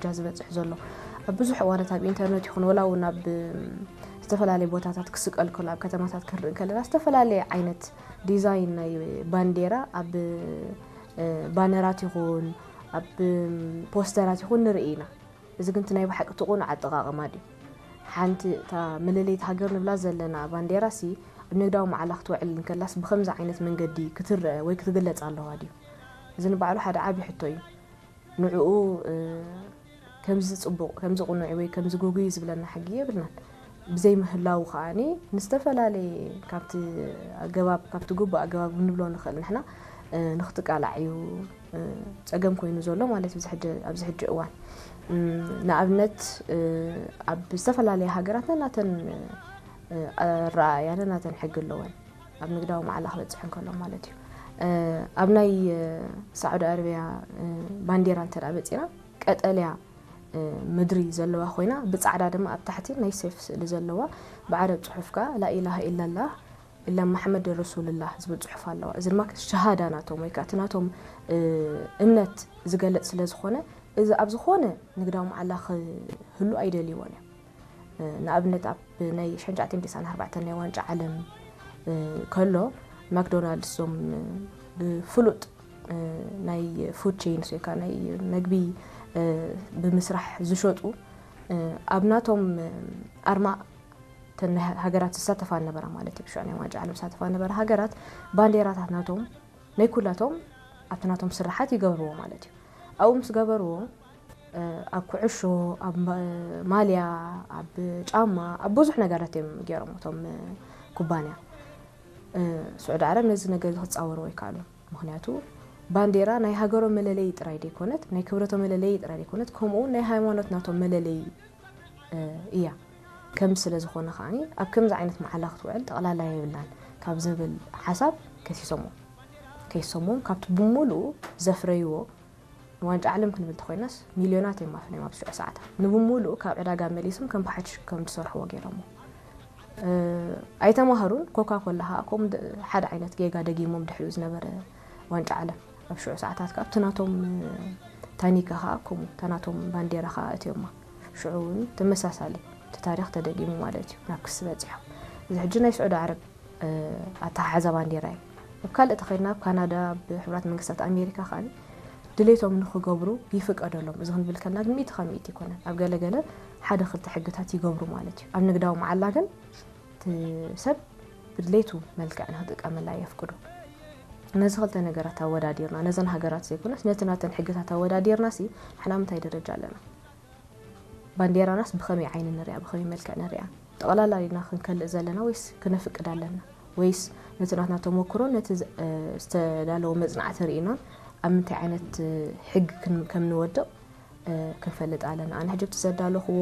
ደረጃ ዝበፅሕ ዘሎ። ኣብ ብዙሕ እዋናት ኣብ ኢንተርኔት ይኹን ወላ እውን ኣብ ዝተፈላለዩ ቦታታት ክስቀል ከሎ ኣብ ከተማታት ክንርኢ ከለና ዝተፈላለየ ዓይነት ዲዛይን ናይ ባንዴራ ኣብ ባነራት ይኹን ኣብ ፖስተራት ይኹን ንርኢ ኢና። እዚ ግን እቲ ናይ ብሓቂ እቲ ቁኑዕ ኣጠቓቕማ ድዩ? ሓንቲ እታ መለለይት ሃገር ንብላ ዘለና ባንዴራ ሲ ኣብ ንግዳዊ መዓላ ክትውዕል እንከላስ ብኸምዚ ዓይነት መንገዲ ክትረአ ወይ ክትግለጽ ኣለዋ ድዩ? እዚ ንባዕሉ ሓደ ዓቢ ሕቶ እዩ። ንዕኡ ከምዚ ጽቡቕ ከምዚ ቁኑዕ ወይ ከምዚ ጉጉይ ዝብለና ሕጊ የብልናን። ብዘይ ምህላው ከኣኒ ንዝተፈላለየ ካብቲ ኣገባብ ካብቲ ግቡእ ኣገባብ ንብሎ ንኽእል ንሕና ንኽትቃላዕ እዩ ጸገም ኮይኑ ዘሎ ማለት እዩ ኣብዚ ሕጂ እዋን። ንኣብነት ኣብ ዝተፈላለያ ሃገራት ነናተን ኣረኣእያ ነናተን ሕጊ ኣለወን ኣብ ንግዳዊ መዓላ ክበፅሕ እንከሎ ማለት እዩ። ኣብ ናይ ሳዑዲ ኣረቢያ ባንዴራ እንተ መፂና ቀጠልያ ምድሪ ዘለዋ ኮይና ብፃዕዳ ድማ ኣብ ታሕቲ ናይ ሴፍ ስእሊ ዘለዋ ብዓረብ ፅሑፍ ከዓ ላኢላሃ ኢላላህ ኢላ መሓመድ ረሱልላህ ዝብል ፅሑፍ ኣለዋ። እዚ ድማ ሸሃዳ ናቶም ወይ ከዓ እቲ ናቶም እምነት ዝገልፅ ስለ ዝኾነ እዚ ኣብ ዝኾነ ንግዳዊ መዓላ ክህሉ ኣይደልይዎን እዮም። ንኣብነት ኣብ ናይ ሸንጫዕቴን ዲሳን ኣርባዕተን ናይ ዋንጫ ዓለም ከሎ ማክዶናልድስ ዞም ብፍሉጥ ናይ ፉድ ቼንስ ወይ ከዓ ናይ መግቢ ብምስራሕ ዝሸጡ ኣብ ናቶም ኣርማ ተን ሃገራት ዝሳተፋ ነበራ ማለት እዩ። ብሽዑ ናይ ዋንጫ ዓለም ዝሳተፋ ነበራ ሃገራት ባንዴራታት ናቶም ናይ ኩላቶም ኣብቲ ናቶም ስራሓት ይገብርዎ ማለት እዩ። ኣብኡ ምስ ገበርዎ ኣብ ኩዕሾ፣ ኣብ ማልያ፣ ኣብ ጫማ፣ ኣብ ብዙሕ ነገራት እዮም ገይሮም እቶም ኩባንያ። ስዑዲ ዓረብ ነዚ ነገር እዚ ክፃወርዎ ይከኣሉ። ምክንያቱ ባንዴራ ናይ ሃገሮም መለለይ ጥራይ ደይኮነት ናይ ክብረቶም መለለይ ጥራይ ደይኮነት ከምኡ እውን ናይ ሃይማኖት ናቶም መለለይ እያ። ከም ስለ ዝኾነ ከዓኒ ኣብ ከምዚ ዓይነት መዓላ ክትውዕል ጠቕላላ የብላን ካብ ዝብል ሓሳብ ከሲሶሞ ከይሶሞም ካብቲ ብምሉኡ ዘፍረይዎ ንዋንጫ ዓለም ክንብል ተኮይናስ ሚልዮናት እዮም ኣፍነዮም ኣብ ሽዑ ሰዓታት ንብምሉኡ ካብ ዕዳጋ መሊሶም ከም ብሓድሽ ከም ዝሰርሕዎ ገይሮሞ ኣይተማሃሩን። ኮካ ኮላ ከዓ ከምኡ ሓደ ዓይነት ጌጋ ደጊሞም ድሕሪኡ ዝነበረ ዋንጫ ዓለም ኣብ ሽዑ ሰዓታት ከዓ ኣብቲ ናቶም ታኒካ ከዓ ከምኡ እታ ናቶም ባንዴራ ከዓ እትዮማ። ሽዑ እውን ተመሳሳሊ እቲ ታሪክ ተደጊሙ ማለት እዩ ናብ ክሲ በፂሖም። እዚ ሕጂ ናይ ስዑዲ ዓረብ ኣተሓሕዛ ባንዴራ እዩ። ኣብ ካልእ ተኸድና ኣብ ካናዳ ኣብ ሕቡራት መንግስታት ኣሜሪካ ከዓ ድሌቶም ንክገብሩ ይፍቀደሎም። እዚ ክንብል ከልና ግን ሚእቲ ካብ ሚእቲ ይኮነን። ኣብ ገለገለ ሓደ ክልተ ሕግታት ይገብሩ ማለት እዩ። ኣብ ንግዳዊ መዓላ ግን እቲ ሰብ ብድሌቱ መልክዕ ንክጥቀመላ የፍቅዱ። ነዚ ክልተ ነገራት ኣወዳዲርና ነዘን ሃገራት ዘይኮነስ ነቲ ናተን ሕግታት ኣወዳዲርና ሲ ንሕና ምንታይ ደረጃ ኣለና? ባንዴራናስ ብኸመይ ዓይኒ ንሪኣ ብኸመይ መልክዕ ንሪኣ? ጠቕላላ ኢና ክንከልእ ዘለና ወይስ ክነፍቅድ ኣለና? ወይስ ነቲ ናትና ተመክሮ ነቲ ዝተዳለወ መፅናዕቲ ርኢናን ኣብ ምንታይ ዓይነት ሕጊ ከም ንወድቕ ክንፈልጥ ኣለና። ኣነ ሕጂ ኣብቲ ዘዳለኽዎ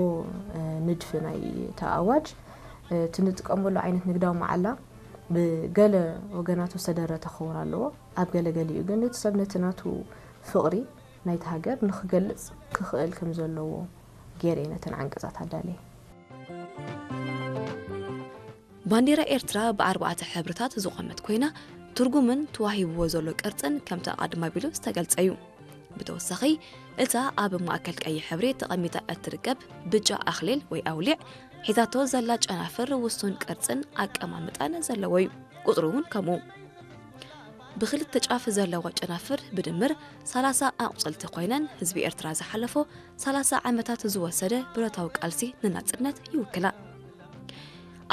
ንድፊ ናይ እታ ኣዋጅ እቲ ንጥቀመሉ ዓይነት ንግዳዊ መዓላ ብገለ ወገናቱ ዝተደረተ ክኸውን ኣለዎ። ኣብ ገለ ገሊኡ ግን እቲ ሰብ ነቲ ናቱ ፍቕሪ ናይቲ ሃገር ንክገልጽ ክኽእል ከም ዘለዎ ገይረ እየ ነተን ዓንቀጻት ኣዳልየ። ባንዴራ ኤርትራ ብኣርባዕተ ሕብርታት ዝቖመት ኮይና ትርጉምን ተዋሂብዎ ዘሎ ቅርጽን ከምቲ ኣቐድም ኣቢሉ ዝተገልጸ እዩ። ብተወሳኺ እታ ኣብ ማእከል ቀይሕ ሕብሪ ተቐሚጣ እትርከብ ብጫ ኣኽሊል ወይ ኣውሊዕ ሒዛቶ ዘላ ጨናፍር ውሱን ቅርጽን ኣቀማምጣን ዘለዎ እዩ። ቁጽሩ እውን ከምኡ። ብኽልተ ጫፍ ዘለዋ ጨናፍር ብድምር ሰላሳ ኣቑጽልቲ ኮይነን ህዝቢ ኤርትራ ዝሓለፎ ሰላሳ ዓመታት ዝወሰደ ብረታዊ ቃልሲ ንናጽነት ይውክላ።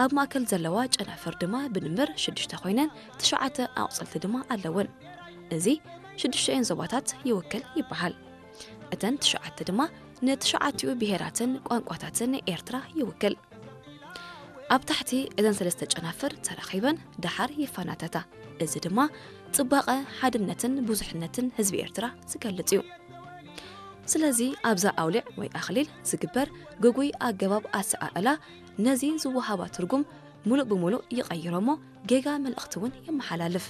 ኣብ ማእከል ዘለዋ ጨናፍር ድማ ብድምር ሽዱሽተ ኮይነን ትሽዓተ ኣቑጽልቲ ድማ ኣለወን። እዚ ሽዱሽተኤን ዞባታት ይውክል ይበሃል። እተን ትሽዓተ ድማ ንትሽዓቲኡ ብሄራትን ቋንቋታትን ኤርትራ ይውክል። ኣብ ታሕቲ እዘን ሰለስተ ጨናፍር ተራኺበን ደሓር ይፈናተታ። እዚ ድማ ጽባቐ፣ ሓድነትን ብዙሕነትን ህዝቢ ኤርትራ ዝገልጽ እዩ። ስለዚ ኣብዛ ኣውሊዕ ወይ ኣኽሊል ዝግበር ግጉይ ኣገባብ ኣሰኣእላ ነዚ ዝወሃባ ትርጉም ሙሉእ ብሙሉእ ይቐይሮ እሞ ጌጋ መልእኽቲ እውን የመሓላልፍ።